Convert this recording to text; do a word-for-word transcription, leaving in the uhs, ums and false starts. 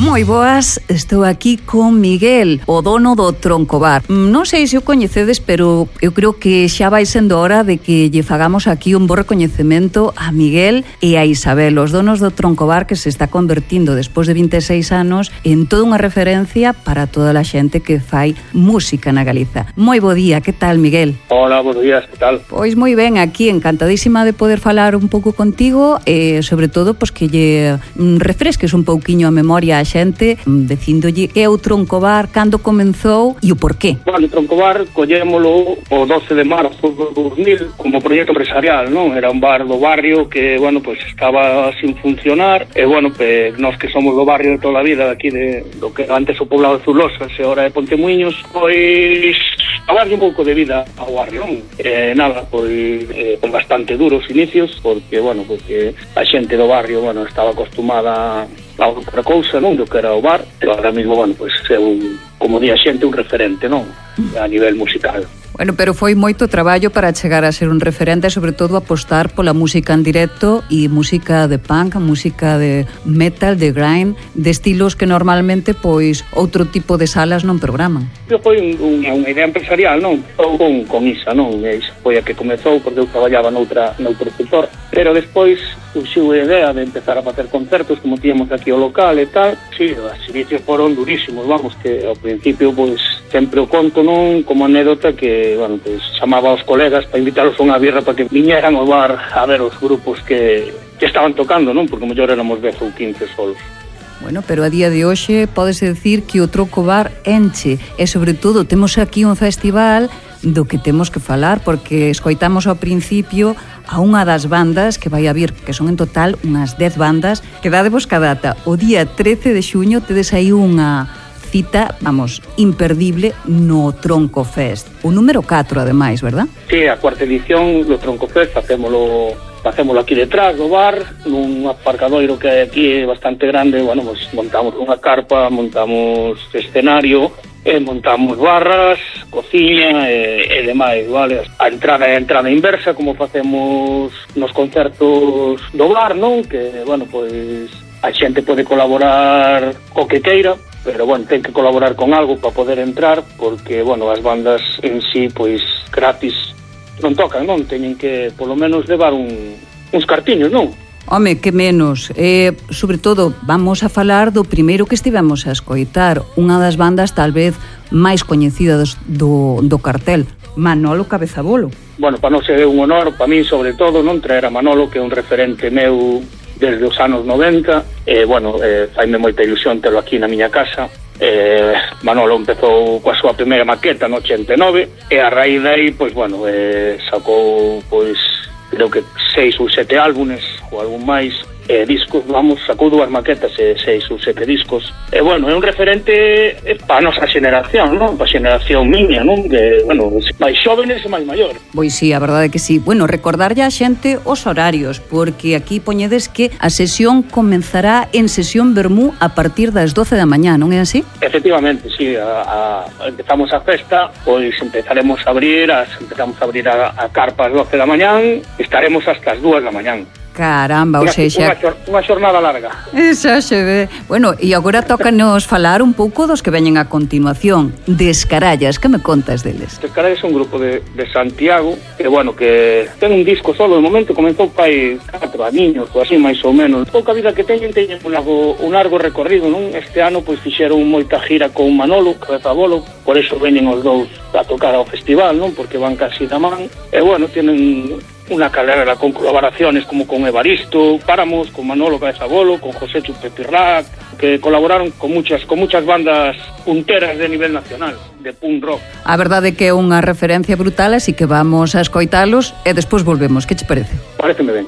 Moi boas, estou aquí con Miguel, o dono do Troncobar. Non sei se o coñecedes, pero eu creo que xa vai sendo hora de que lle fagamos aquí un bo recoñecemento a Miguel e a Isabel, os donos do Troncobar, que se está convertindo despois de vinte e seis anos en toda unha referencia para toda a xente que fai música na Galiza. Moi bo día, que tal, Miguel? Hola, buenos días, que tal? Pois moi ben, aquí encantadísima de poder falar un pouco contigo e sobre todo pois que lle refresques un pouquiño a memoria a xente dicíndolle que é o Troncobar, cando comenzou e o porqué. Bueno, o Troncobar collémolo o doce de marzo do dos mil como proxecto empresarial, non? Era un bar do barrio que, bueno, pues estaba sin funcionar e, bueno, pues nós que somos do barrio de toda a vida aquí de do que antes o poblado de Zulosas e ahora de Pontemuiños, pois a darlle un pouco de vida ao barrio, non? Eh, nada, pois eh, con bastante duros inicios, porque, bueno, porque a xente do barrio, bueno, estaba acostumada a outra cousa, non? Do que era o bar, pero ahora mesmo, bueno, pois é un, como di a xente, un referente, non? A nivel musical. Bueno, pero foi moito traballo para chegar a ser un referente e, sobre todo, apostar pola música en directo e música de punk, música de metal, de grind, de estilos que normalmente, pois, outro tipo de salas non programan. Foi un, unha idea empresarial, non? Con, con Isa, non? E Isa foi a que comezou, porque eu traballaba noutra, noutro sector, pero despois surxiu a idea de empezar a facer concertos, como tíamos aquí o local e tal. Sí, os inicios foron durísimos, vamos, que ao principio, pois, sempre o conto, non? Como anécdota que, bueno, pues chamaba aos colegas para invitalos a unha birra para que viñeran ao bar a ver os grupos que, que estaban tocando, non? Porque mellor éramos dez ou quince solos. Bueno, pero a día de hoxe pódese decir que o Troncobar enche e, sobre todo, temos aquí un festival do que temos que falar, porque escoitamos ao principio a unha das bandas que vai a vir, que son en total unhas dez bandas, que dadevos ca data. O día trece de xuño tedes aí unha cita, vamos, imperdible no Troncofest. O número catro, ademais, verdad? Sí, a cuarta edición do Troncofest facémolo facémolo aquí detrás do bar, nun aparcadoiro que hai aquí bastante grande. Bueno, pues montamos unha carpa, montamos escenario, e montamos barras, cociña e, e demais, vale? A entrada é a entrada inversa, como facemos nos concertos do bar, non? Que, bueno, pois a xente pode colaborar co que queira, pero, bueno, ten que colaborar con algo para poder entrar, porque, bueno, as bandas en sí, pois, gratis non tocan, non? Teñen que, polo menos, levar un, uns cartiños, non? Home, que menos. Eh, sobre todo, vamos a falar do primeiro que estivemos a escoitar, unha das bandas tal vez máis coñecidas do, do cartel, Manolo Cabezabolo. Bueno, para non ser un honor, para min sobre todo, non traer a Manolo, que é un referente meu desde os anos noventa, e, bueno, eh, faime moita ilusión telo aquí na miña casa. Eh, Manolo empezou coa súa primeira maqueta no ochenta e nove, e a raíz dai, pois, bueno, eh, sacou, pois, creo que seis ou sete álbumes, ou algún máis, eh, discos, vamos, sacou dúas maquetas e seis ou sete discos. E, bueno, é un referente para a nosa xeneración, non? Para a xeneración miña, non? Que, bueno, máis xóvenes e máis maior. Pois sí, a verdade é que sí. Bueno, recordarlle a xente os horarios, porque aquí poñedes que a sesión comenzará en sesión vermú a partir das doce da mañá, non é así? Efectivamente, sí, a, a, empezamos a festa, pois empezaremos a abrir, as, empezamos a abrir a, a carpa ás doce da mañán, estaremos hasta as dúas da mañán. Caramba, unha, ou seja... Unha, xor, unha xornada larga. Esa xe ve. Bueno, e agora tócanos falar un pouco dos que veñen a continuación. Descarallas, que me contas deles? Descarallas é un grupo de, de Santiago, que, bueno, que ten un disco solo, de momento comenzou pai catro aniños, ou así, máis ou menos. Pouca vida que teñen, teñen un largo, un largo recorrido, non? Este ano, pois, fixeron moita gira con Manolo Cabezabolo, por eso veñen os dous a tocar ao festival, non? Porque van casi da man. E, bueno, tienen unha carrera con colaboraciones como con Evaristo, Páramos, con Manolo Cabezabolo, con José Chupepirrac, que colaboraron con muchas con muchas bandas punteras de nivel nacional, de punk rock. A verdade é que é unha referencia brutal, así que vamos a escoitalos e despois volvemos. Que che parece? Paréceme ben.